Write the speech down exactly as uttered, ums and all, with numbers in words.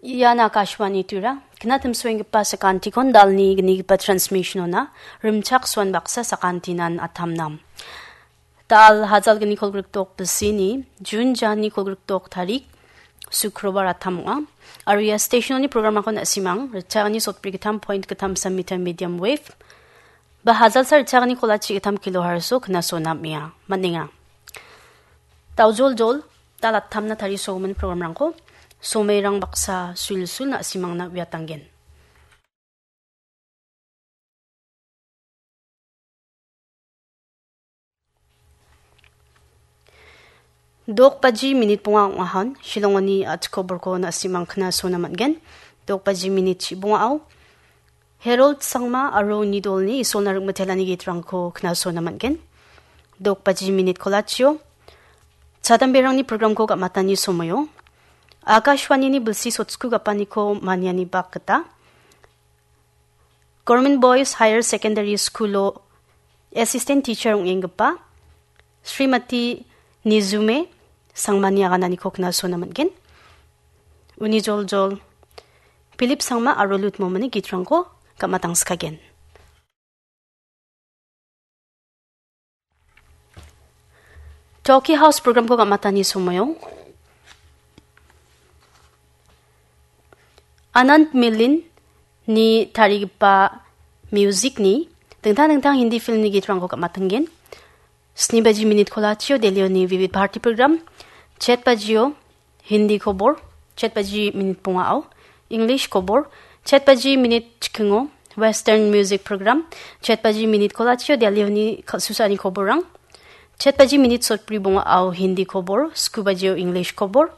Ian Akashvani Tura, knatimsoenggipa sakantikon dalni gnigipa transmission-ona rimchaksoan baksa sakantinan atamnam. Dal hajal gni kolgrikdok bisini, Jun jani kolgrikdok tarik, Sukrobar atam ong·a. Aro ia station-oni program-rangko na·simang, ritchagni sotbri gittam point gittam sam meter medium wave, ba hajalsa ritchagni kolachi gittam kilohertz-o knaso nam·enga, man·enga. Daojoljol, dal attamna tarisogimin program-rangko, somerang baksa sulsul na·simangna uiatanggen. Dok baji minit bonga ong·ahon, Shillongoni a·chik koborko na·simang knasona man·gen. Dok baji minit chi bongao, Harold Sangma aro uni dolni Isolna ringmitelani gitrangko knasona man·gen. Dok baji minit kolachio, chadamberangni program-ko gam·atani somoio, Akashvanini bilsi sotsku gapaniko maniani bak gita, Government Boys Higher Secondary School-o assistant teacher ong·enggipa Srimati Nizume Sangmani agananiko knasona man·gen. Uni joljol Philip Sangma aro Lut Momani gitrangko gam·atangskagen. Talkie House program-ko gam·atani somoio, Anand Milin-ni tarigipa music-ni dingtang dingtang Hindi film-ni gitrangko gam·atanggen. Sni baji minit kolachio Delhi-oni Vividh Bharati program, chet bajio Hindi kobor, chet baji minit bongao, English kobor, chet baji minit chikingo, Western music program, chet baji minit kolachio Delhi-oni kal-, susani koborrang, chet baji minit sotbri bongao Hindi kobor, sku bajio English kobor,